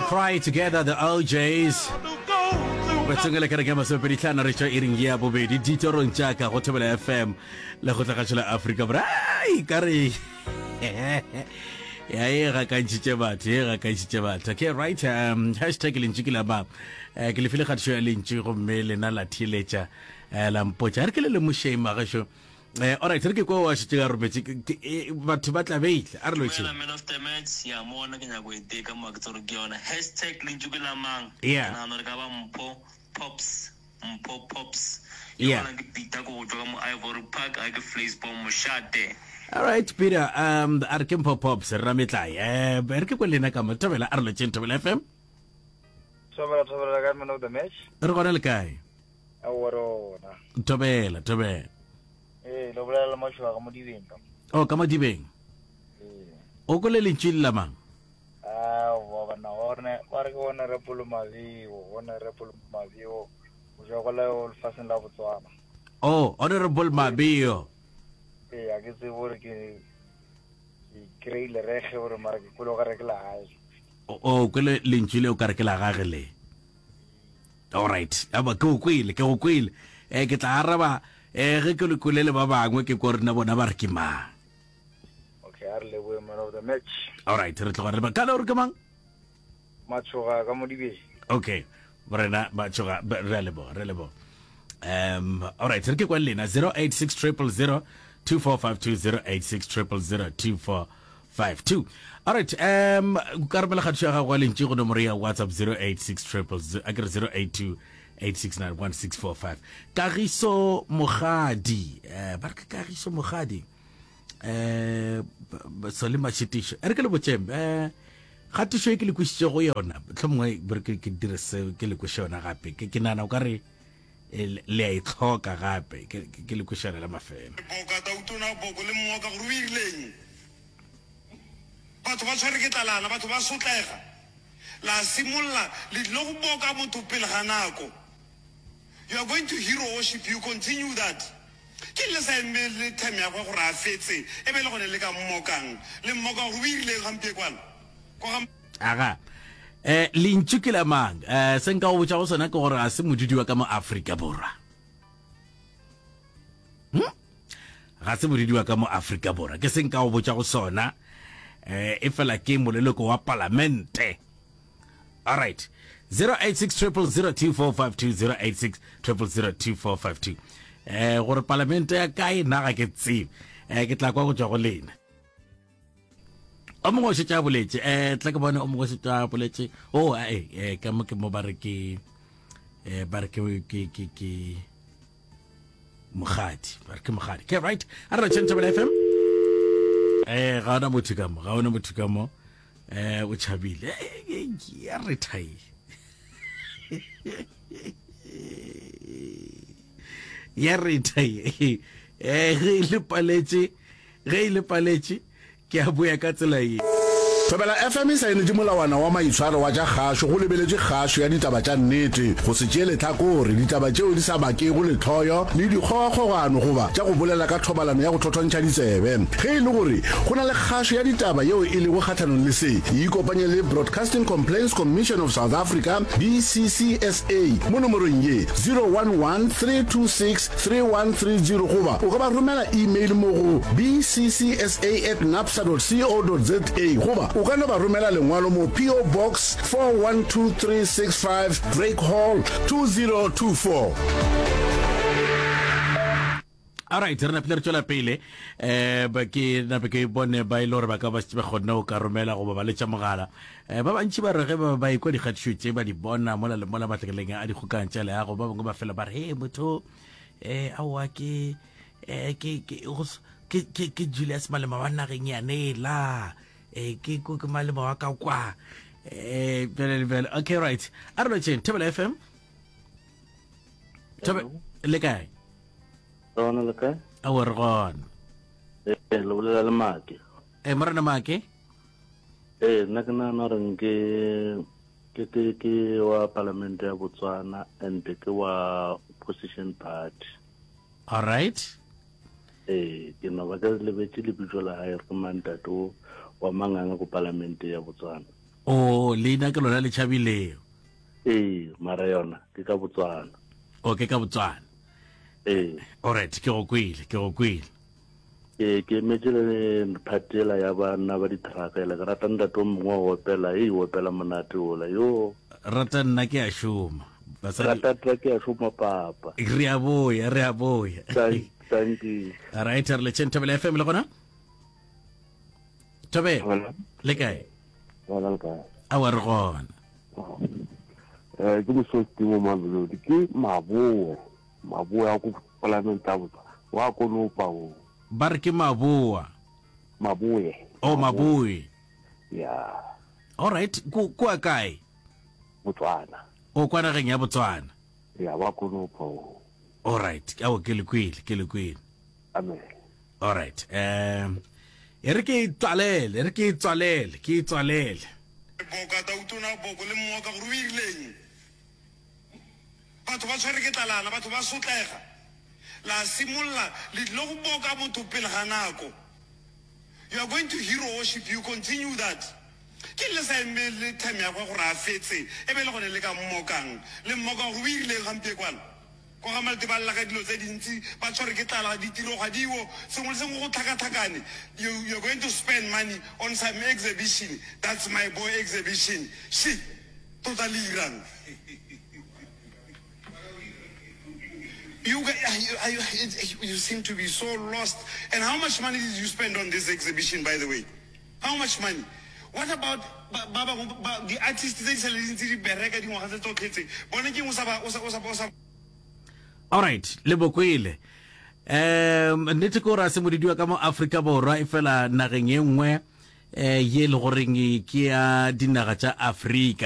Cry Together, the OJs. Re tsongele kereke ya masomepeditlhano re tšwa iring ya bobedi ditorong tša ka go Thobela FM le go tlagatšo la Afrika Borwa. Ai, ka re ya e gakantšhitše batho e gakantšhitše batho okay right um hashtag lentšu ke la ba eh, ke lefile kgatišo ya lentšu gomme lena la theeletša eh, la mpotša a re ke le lemošeng magašo Eh, alright, re ke kwa wa šetše a rometše eh, batho ba tla beile a re lotšheng. Man of the match ya mona ke nyako e teka mo ke tsore ke yona hashtag lentšu ke la mang yeah. ke nagana gore ka ba mpho pops mpho pops yeah. yona ke peter ko go tšwa ka mo ivory park a ke flacebom mošate Alright Peter um a re ke mpho pops re rametlae eh re ke kwa lena ka mo thobela a re lotšheng thobela FM Thobela thobela ka man of the match re gona le kae Aowa re gona. Thobela, thobela. Ee, le bolela le Mašoga ka Modibeng ka. Oh, ka Modibeng. Ee. O kwele lentšu le la mang? Aowa banna, one ba re ke Honorable Mabeo, Honorable Mabeo, o tšwa go la lefaseng la Botswana. Oh, Honorable Mabeo. Ee, a ke tsebe gore ke ke kry-ile rege gore mara ke kwele o ka re ke la gage. O kwele lentšu le o ka re ke la gage le. Alright, aba ke o kwele, ke go kwele. Eh ke tla araba eh ge ke le kwele le ba bangwe ke kwa rena bona ba re ke mang. Okay, a re lebohe man of the match. Alright, re tloga re ba ka le gore ke mang? Matshoga ka Modibeng. Okay. Morena Matshoga re a leboga, re a leboga. Um alright, re ke kwa lena 086 000 2452 086 000 24 5 2 alright um ka romela kgatišo ya gago ya lentši go nomoro ya whatsapp 086 triple a ke re 082 8691645 kagiso mogadi eh ba re ke kagiso mogadi eh sole mashitišo e re ke le botšeng eh kgatišo e ke le kwišitše go yona tlhomongwe re ke ke dire se ke le kweše yona gape ke ke nana o ka re eh, le a e tlhoka gape ke ke le kweše yona la mafelo Boka tautona boko le mmoka gore o irileng Batho ba tshwere ke tlalana, batho ba sotlega. La simolola le tlile go boka motho pele ga nako. You are going to hero worship, you continue that. Ke le sa emele term ya gwe gore a fetse, e be le gone le ka mmokang. Le mmoka gore o irileng gampiekwana? Kwa ga. Aga. Eh, lentšu ke la mang? Eh, se nka go botša go sona ke gore ga se modudi wa ka mo Afrika Borwa. Hmm? Ga se modudi wa ka mo Afrika Borwa. Ke se nka go botša go sona. Eh, e fela ke moleloko wa palamente. All right. 086 0002452 086 0002452. Eh, gore palamente ya kae nna ga ke tsebe. Eh, ke tla kwa go tšwa go lena. O mongwe o šetše a boletše. Eh, tla ke bone o mongwe o šetše a boletše. Oh, eh, eh, ka mo ke mo ba re ke eh ba re ke ke ke ke mogadi ba re ke mogadi ke right a re tšhentšha bela fm eh ga ona motho ka mo ga ona motho ka mo eh o tšhabile eh, ya re thai ya re thai eh ge le paletše ge e le paletše Ke a boya ka tsela ye. Thobela FM e saenetše molawana wa maitshwaro wa tša kgašo go lebeletše kgašo ya ditaba tša nnete, go se tšee lehlakore, ditaba tšeo di sa bakego lehloyo le dikgogakgogano goba tša go bolela ka thobalano ya go thothontšha ditsebe. Ge e le gore go na le kgašo ya ditaba yeo e lego kgahlanong le se, ikopanye le Broadcasting Complaints Commission of South Africa, BCCSA, mo nomorong ye, 011 326 3130 goba o ka ba romela email mo go bccsa at napsa dot co dot za goba o ka no ba romela lengwalo mo PO Box 412365 Drake Hall 2024. Alright, re napile re tšwela pele eh ba ke nape ke bone ba ile e gore ba ka ba šetše ba kgonne go ka romela goba ba letša mogala eh ba bantši ba re ge ba ba ekwa dikgatišo tše ba di bona mola le mola matlakaleng a dikgokang tša leago ba bangwe ba fela ba re he motho eh aowa ke eh ke ke go ke ke ke Julius Malema wa nageng yanela eh ke ke Malema wa ka kwa eh bjale le bjale okay right a re lotšheng Thobela FM Thobe le kae Gona le kae? Aowa re gona. Ee, le bolela le Make. Ee, morena Make. Ee, nna ke nagana gore nke ke ke ke wa palamente ya Botswana and ke wa opposition party. All right. Ee, ke no ba ke lebetše lebitso la gae re ke mang ntate o wa manganga ko palamente ya Botswana. O, leina ke lona le tšhabilego. Ee, mara yona ke ka Botswana. O, ke ka Botswana. Ee. Alright, ke go kwele, ke go kwele. Ee, ke emetše le part yela ya banna ba di-truck yela. Ke rata ntate o mongwe wa opela, ei o opela monate ola, yo. Rata nna ke a šoma. Basadi. Rata nna ke a šoma papa. Re a boya, re a boya. Thank, thank you. Alright, re letšeng Thobela FM le gona? Thobela. Le kae? Gona le kae? Awa re gona. Eh ke mosoti mo Mamelodi ke maboe maboe a ko palamente a botsa wa konopa o. Ba re ke maboa. Maboe. Oh maboe. Ya. All right, ku kwa kae? Botswana. O kwa nageng ya Botswana. Ya wa konopa o. All right, awo ke le kwele, ke le kwele. Amen. All right. Um e re ke e tswalele, e re ke e tswalele, ke e tswalele. Boka tautona boko le mmoka gore o irileng. Batho ba tshwere ke tlalana, batho ba sotlega. La simolola le tlile go boka motho pele ga nako. You are going to hero worship, you continue that. Ke le sa emele time ya gagwe gore a fetse, e be le gone le ka mmokang. Le mmoka gore o irileng gampiekwana. Kwa ga Malte ba lla ka dilo tse dintsi, ba tshwerwe ke tlala, ditiro ga diwo, sengwe le sengwe go tlhakatlhakane. You, you're going to spend money on some exhibition, that's my boy exhibition. She, tota le irang? You, you, you seem to be so lost. And how much money did you spend on this exhibition, by the way? How much money? What about ba ba bangwe ba di artist tse di sale di ntse di bereka dingwaga tse tsotlhe tse bone ke eng o sa ba o sa o sa o sa Alright, le bokwele. Um nnete ke gore a se modidiwa ka mo Afrika Borwa e fela nageng ye nngwe eh ye le goreng ke ya dinaga tša Afrika.